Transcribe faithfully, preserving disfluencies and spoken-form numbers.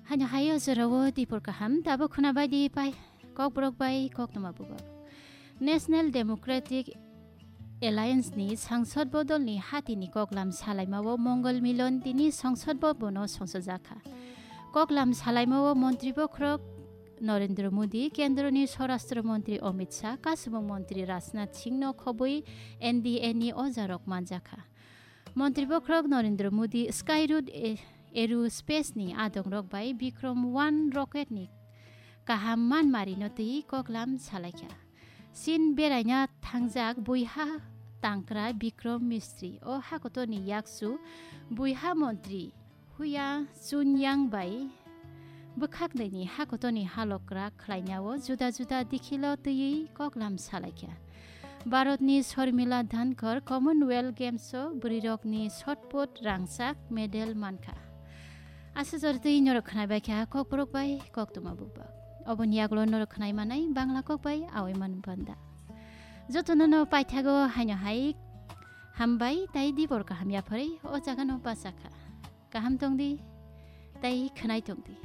Haino hai o jorao dipor kaham, tabuk khwna bai di pai kokborok bai koktwma bubak. National Democratic Alliance ni sangsod bodol ni hati ni koklam salaima o Mongol Milon tini sangsod bobono songsojakha. Koklam salaima o montri bokhorok Narendra Modi, kendro ni Swarashtra Montri Amit Shah, kasubung montri Rajnath Singh no khobwi N D A ni ojarok manjakha. Montri bokhorok Narendra Modi Skyroot e-, Aerospace ni adongrok bai Vikram one rocket ni kaham manmari no twi koklam salaikha. Chin beraina thangjak buiha tangkra Vikram Mistry o hakotor ni yaksu buiha montri Huya Chunyang bai bwkhaknwi ni hakotor ni halok kwrak khlaina o juda juda dikhilo twiwi koklam salaikha. Bharat ni Sharmila Dhankar Commonwealth Games o bwrwirok ni shot put rangchak medal mankha. Aswk jora twi norok khwnai bai kha kokborok bai koktwma bubak. Oboni yagulo norok khwnai manai Bangla kok bai awi man banda. Jotono no paithago haino hai hambai tai dibor kaham yapharwi o jaga no bachakha. Kaham tongdi, tai khwnai tongdi.